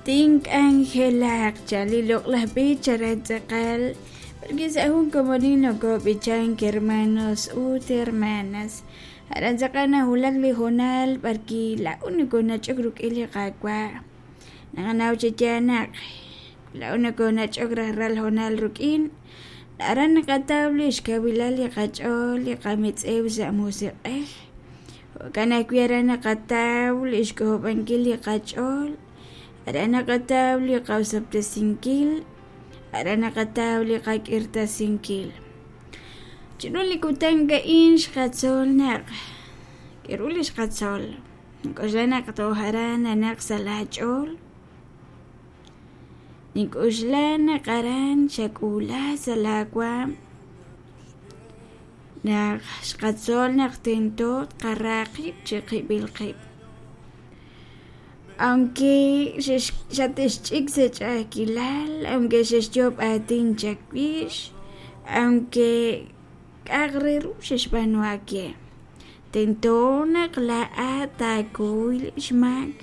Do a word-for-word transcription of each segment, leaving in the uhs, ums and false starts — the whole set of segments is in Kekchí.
Tink'anjelaq chan li loq'laj b'ich aran tz'aqal porque sa jun komonil nokob'ichank hermanos ut hermanas aran tz'aqal nawulak li hoonal b'arwi' laa'o nokonach'ok rik'in li qaawa' naqanaw chi yaal naq laa'o nokonach'ok rajlal hoonal rik'in aran naqataw li xkawilal li qach'ool li qametz'ew sa' musiq'ej jo'kan ajwi' aran naqataw li xk'ojob'ankil li qach'ool aran naqataw li qaosob'tesinkil aran naqataw li qak'irtasinkil chiru li kutan a'in xqatzol naq k'aru li xqatzol nink'oxla naq toj aran nanaq sa' la ch'ool nink'oxla naq aran xak'uula sa' la waam naq xqatzol naq tento tqara qib' chiqib'il qib' aunque xatixch'ik sa' ch'a'ajkilal aunque xexyoob' aatin chawix aunque k'a'aq re ru xexb'aanu aawe tento naq laa'at taakuy li xmaak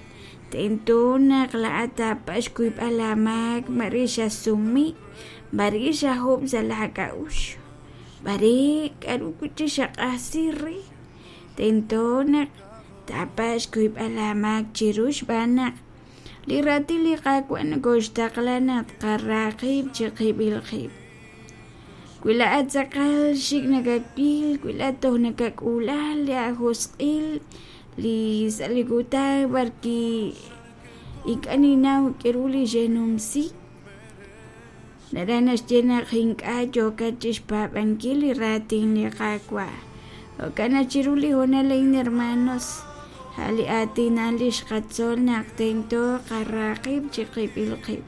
tento naq laa'at taapatz' xkuyb'al aamaak mare xasumi mare xajob' sa' laak'a'uxl mare k'aru wi' xaq'ajsi re tento naq taapatz' xkuyb'al aamaak chiru xb'aan naq li raatin li Qaawa' nokoxtaqla naq tqara qib' chiqib'il qib' wi laa'at tz'aqal xik' nakawil wi laa'at toj nakak'uula li ajosq'il li sa' li kutan b'arwi' ink'a' ninnaw k'aru li xenumsi naraj naxye naq ink'a' yookat chixpaab'ankil li raatin li Qaawa' jo'kan naq chiru li hoonal a'in hermanos a' li aatin a'an li xqatzol naq tento qara qib' chiqib'il qib'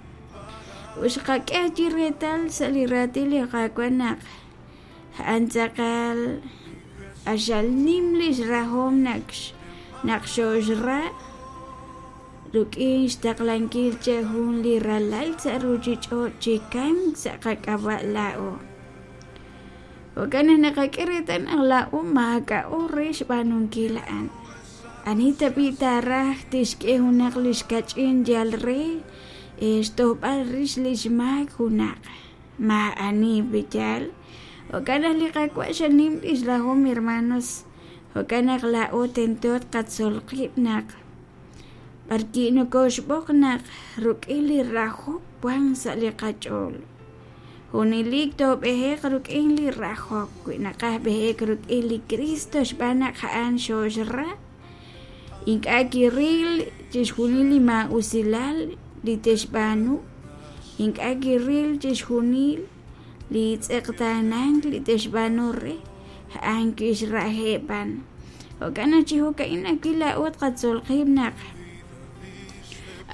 ut xqak'e ajwi' reetal sa' li raatin li Qaawa' naq a'an tz'aqal q'axal nim li xrahom naq naq xoxra rik'in xtaqlankil che jun li ralal sa' ruchich'och' chi kamk sa' qak'ab'a' laa'o jo'kan naq naqak'e reetal naq laa'o maak'a'o re xb'aanunkil a'an ani tab'i' taaraj tixk'e junaq li xkach'in yal re xtojb'al rix li xmaak junaq maa'ani b'iyal jo'kan naq li Qaawa' xanim li xrahom hermanos jo'kan naq laa'o tento tqatzol qib' naq b'arwi' nokoxb'oq naq rik'in li rajok wan sa' li qach'ool junelik toob'ejeq rik'in li rajok wi naqaj b'ejek rik'in li Cristo xb'aan naq a'an xoxra ink'a' kiril chixjunil li maa'usilal li texb'aanu ink'a' kiril chixjunil li tz'eqtaanank li texb'aanu re a'an kixrajeb' b'an jo'kan naq chi jo'ka'in ajwi' laa'o tqatzol qib' naq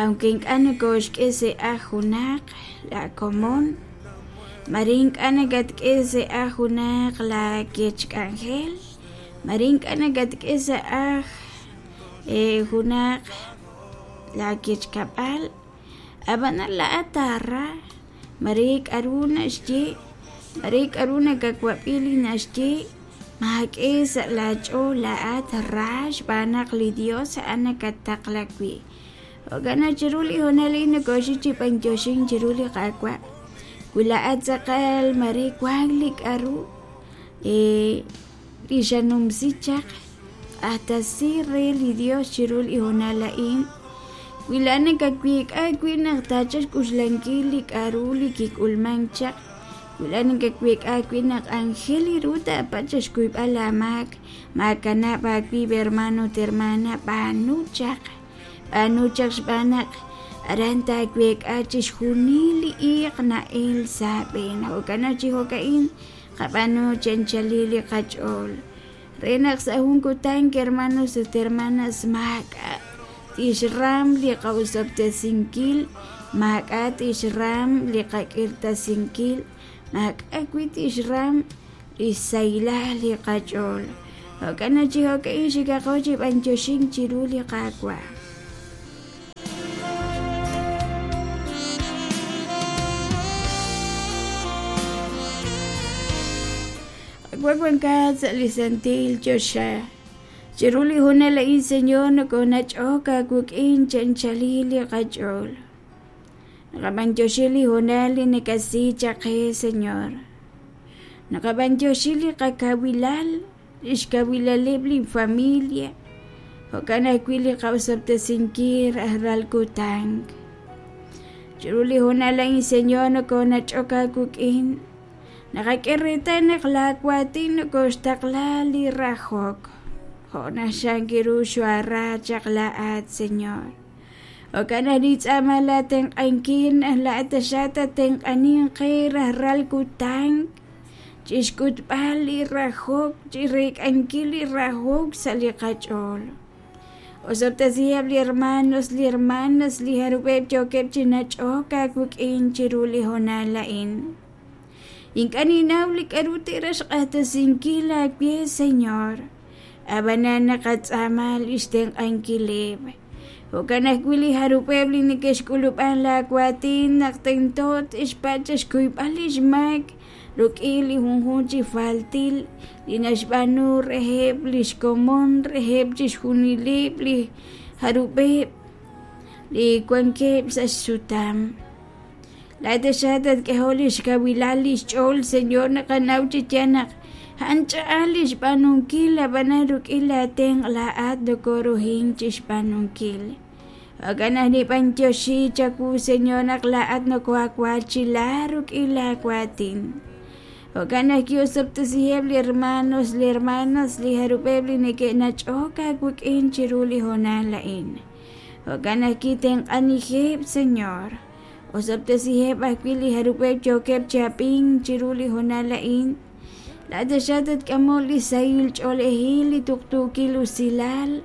aunque ink'a' nokoxk'e sa' aj junaq la komon mare ink'a' nakatk'e sa' aj junaq la kechk'anjel mare ink'a' nakatk'e sa' aj junaq la kechkab'al ab'anan laa'at taara mare k'aru naxye mare k'aru nakawab'i li naxye maak'e sa' laach'ool laa'at ra xb'aan naq li Dios a'an nakattaqla wi' jo'kan naq chiru li hoonal a'in nokoxik chi b'antioxink chiru li Qaawa' wi laa'at tz'aqal mare wank li k'aru li xanumsi chaq q'axtesi re li Dios chiru li hoonal a'in wi laa'at nakaweek'a wi' naq taachal xk'uxlankil li k'aru li kik'ulmank chaq wi laa'at nakaweek'a wi' naq anjel ru taapatz' xkuyb'al aamaak maakanab' aawib' hermano ut hermana b'aanu chaq b'aanu chaq xb'aan naq aran taaweek'a chixjunil li iiq na'el sa' aab'een jo'kan naq chi jo'ka'in qab'aanu chi anchalil li qach'ool re naq sa' jun kutan hermanos ut hermanas maak'a' tixram li qaosob'tesinkil maak'a' tixram li qak'irtasinkil maak'a' wi' tixram li xsahilal li qach'ool jo'kan naq chi jo'ka'in xikaqo chi b'antioxink chiru li Qaawa' Qaawa' wankat sa' li santil choxa chiru li hoonal a'in Señor nokonach'ok aawik'in chi anchalil li qach'ool Naqab'antioxi li hoonal li nakasi chaq qe, Señor. Naqab'antioxi li qakawilal, lix kawilaleb' li familia, jo'kan ajwi' li qa'osob'tesinkil rajlal kutan. Chiru li hoonal a'in, Señor, nokonach'ok aawik'in. Naqak'e reetal naq laa waatin nokoxtaqla li rajok. Jo' naxan kiru xoara chaq laa'at, Señor. Jo'kan naq nintz'aama laatenq'ankil naq laa'at taxaq tatenq'anin qe rajlal kutan chixk'utb'al li rajok, chireek'ankil li rajok sa' li qach'ool. Osob'tesiheb' li hermanos, li hermanas, li jarub'eb' yookeb' chi nach'ok aawik'in chiru li hoonal a'in. Ink'a' ninnaw li k'a'ru te'raj xq'axtesinkil aawe, Señor. Ab'anan naqatz'aama lix tenq'ankileb'. Jo'kan ajwi' li jarub'eb' li neke'xk'ulub'an laa waatin naq tento te'xpatz' xkuyb'al lix maak rik'in li junjunq chi faltil li naxb'aanu reheb' lix komon, reheb' chixjunileb' li jarub'eb' li wankeb' sa' xsutam. Laa'at taxaq tatk'ehoq lix kawilal lix ch'ool, Señor, naqanaw chi yaal naq a'an ch'a'aj li xb'aanunkil, ab'anan rik'in laatenq' laa'at nokoruhin chixb'aanunkil. Jo'kan naq nib'antioxi chawu, Señor, naq laa'at nokoawaachila rik'in laawaatin. Jo'kan naq ki'osob'tesiheb' li hermanos, li hermanas, li jarub'eb' li neke'nach'ok aawik'in chiru li hoonal a'in. Jo'kan naq kitenq'anijeb', Señor. Osob'tesiheb' ajwi' li jarub'eb' yookeb' chi ab'ink chiru li hoonal a'in. Laa'at taxaq tatk'amoq li sahil ch'oolejil, li tuqtuukil usilal.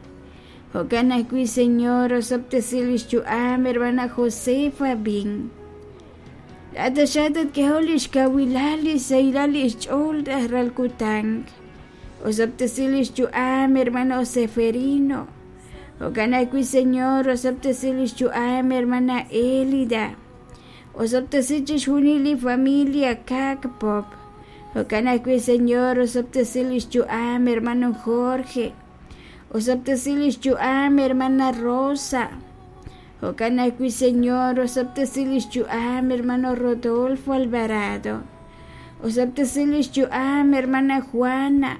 Jo'kan ajwi', Señor, osob'tesi lix yu'am hermana Josefa Bin. Laa'at taxaq tatk'ehoq lix kawilal, li sahilal lix ch'ool rajlal kutan. Osob'tesi lix yu'am hermano Seferino. Jo'kan ajwi', Señor, osob'tesi lix yu'am hermana Elida. Osob'tesi chixjunil li familia Kak Pop. Jo'kan ajwi', Señor, osob'tesi lix yu'am hermano Jorge. Osob'tesi lix yu'am hermana Rosa. Jo'kan ajwi', Señor, osob'tesi lix yu'am hermano Rodolfo Alvarado. Osob'tesi lix yu'am hermana Juana.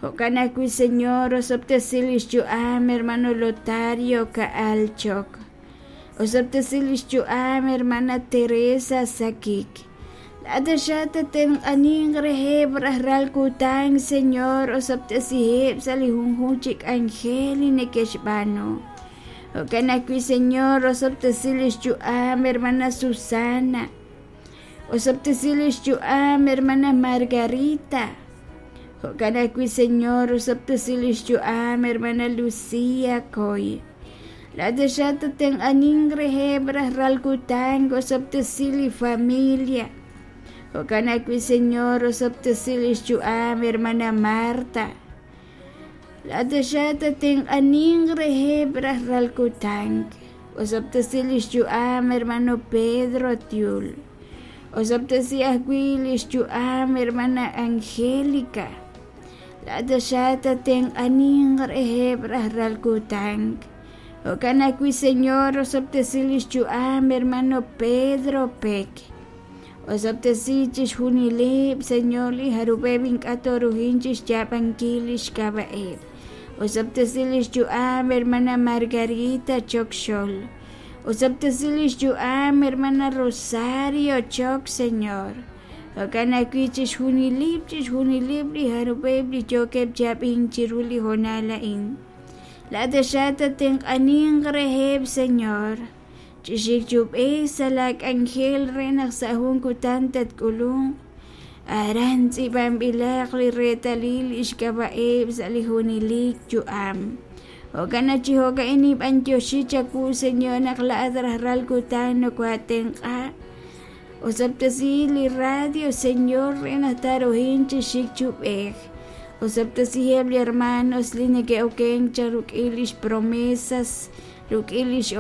Jo'kan ajwi', Señor, osob'tesi lix yu'am hermano Lotario Ka'alchok. Osob'tesi lix yu'am hermana Teresa Sakik. Laa'at taxaq tatenq'anin reheb' rajlal kutan, Señor, osob'tesiheb' sa' li junjunq chi k'anjel li neke'xb'aanu. Jo'kan ajwi', Señor, osob'tesi lix yu'am hermana Susana. Osob'tesi lix yu'am hermana Margarita. Jo'kan ajwi', Señor, osob'tesi lix yu'am hermana Lucía Coy. Laa'at taxaq tatenq'anin reheb' rajlal kutan, osob'tesi li familia. Jo'kan ajwi', Señor, osob'tesi lix yu'am hermana Marta. Laa'at taxaq tatenq'anin reheb' rajlal kutan. Osob'tesi lix yu'am hermano Pedro Tiul. Osob'tesi ajwi' lix yu'am hermana Angélica. Laa'at taxaq tatenq'anin reheb' rajlal kutan. Jo'kan ajwi', Señor, osob'tesi lix yu'am hermano Pedro Peck. Osob'tesi chixjunileb', Señor, li jarub'eb' ink'a' toruhin chixyaab'ankil lix k'ab'a'eb'. Osob'tesi lix yu'am hermana Margarita Chokxol. Osob'tesi lix yu'am hermana Rosario Chok, Señor. Jo'kan ajwi' chixjunileb', chixjunileb' li jarub'eb' li yookeb' chi ab'ink chiru li hoonal a'in. Laa'at taxaq tatenq'anin reheb', Señor. Chixik chub'ej sa' laak'anjel re naq sa' jun kutan tatk'ulunq. Aran tz'iib'anb'ilaq li reetalil lix k'ab'a'eb' sa' li junelik yu'am. Jo'kan naq chi jo'ka'in nib'antioxi chawu, Señor, naq laa'at rajlal kutan nokoatenq'a. Osob'tesi li radio, Señor, re naq taruhin chixik chub'ej. Osob'tesiheb' li hermanos li neke'okenk cha rik'in lix promesas, rik'in lix